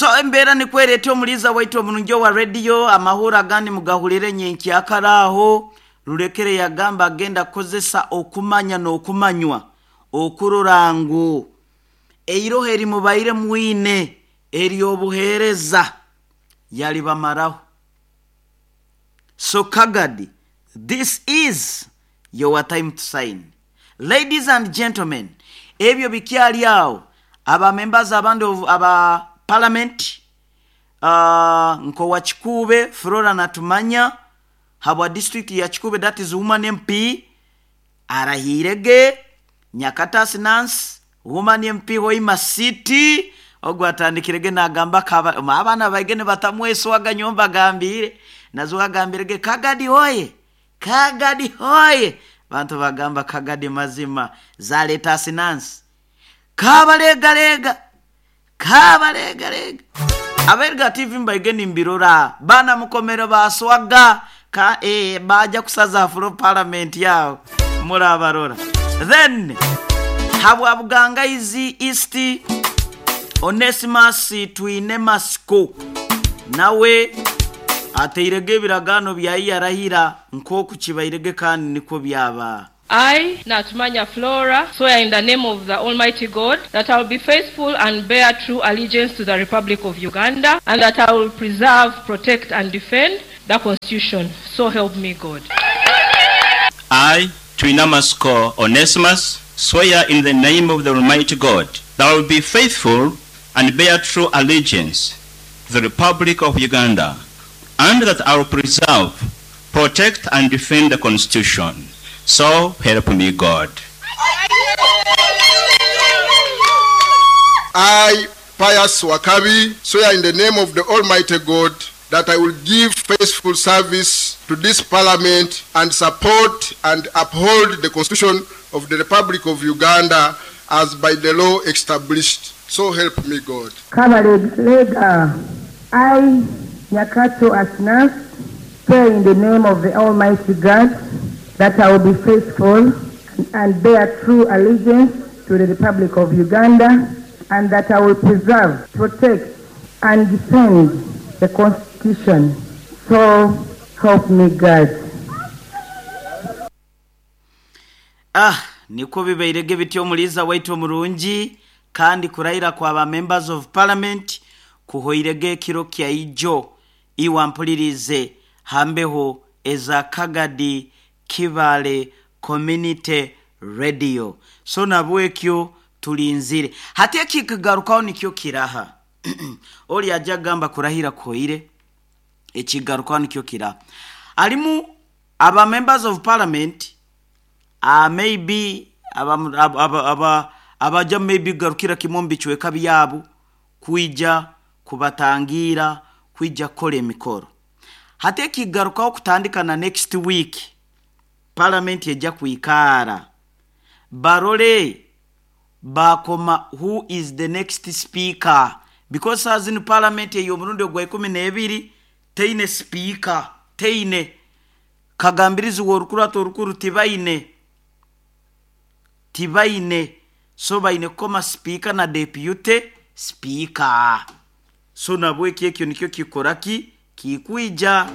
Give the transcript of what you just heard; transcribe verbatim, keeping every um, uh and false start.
So embeera nikwereta omuliza waitu omurungi wa radio amahura agandi mugahulire nyenkyakaraho. Rulekere yagamba agenda kukozesa okumanya n'okumanywa okurora ngu eiroho erimubaire mwine eryobuheereza yalibamaraho. So Kagadi, this is your time to sign. Ladies and gentlemen, ebyo bikyali awo. Aba members abandi aba parliament uh, nkowa Kikuube Flora Natumanya habwa district ya Kikuube, that is woman M P arahirege. Nyakatasi Nancy woman M P Hoima City ogwo atandikirege nagamba kaba abana baigene batamweswaga nyomba gambire nazo agambirege Kagadi hoye, Kagadi hoye. Bantu bagamba Kagadi mazima zaleta Nancy kabalegalega kabalegalega. Aberga T V mbaigeni mbirora bana mukomero baswaga ka eh, baja kusaza afro parliament yao murabarora. Then habwa Bugangaizi East Onesimus Twine Masiko nawe ateirege ebiragano bya yarahira nkoku kibairege kandi niko byaba. I, Natumanya Flora, swear in the name of the Almighty God that I will be faithful and bear true allegiance to the Republic of Uganda, and that I will preserve, protect, and defend the Constitution. So help me God. I, Twinamasiko Onesimus, swear in the name of the Almighty God that I will be faithful and bear true allegiance to the Republic of Uganda, and that I will preserve, protect, and defend the Constitution. So help me God. I, Pius Wakabi, swear in the name of the Almighty God that I will give faithful service to this parliament and support and uphold the Constitution of the Republic of Uganda as by the law established. So help me God. Kabalega, I, Nyakato Asnas, swear in the name of the Almighty God that I will be faithful and bear true allegiance to the Republic of Uganda, and that I will preserve, protect, and defend the Constitution. So help me God. Ah, niko bibairege bityo omuliza waitu omurungi kandi kurahira kwa ba members of parliament kuhoirege kiro kya ijo iwampulirize hambeho eza Kagadi Kibale Community Radio. So nabwekyo tulinzire hati ekikagarukaho nikyo kiraha. Oli ajja gamba kurahira koire ekigarukaho nikyo kiraha. Alimu aba members of parliament uh, maybe aba aba aba abaja maybe garukira kimombi chweka byabu kuija kubatangira kuija kole emikoro. Hati ekigarukaho kutandika na next week parliament ejja kuikara barole bakoma who is the next speaker, because as in parliament eyo omurundi ogwa ikumi n'ebiri teine speaker, teine kagambirizi w'orukurato orukuru tibaine tibaine so baine koma speaker na deputy speaker. So nabweki ekyo nikyo kikoraki kikuija.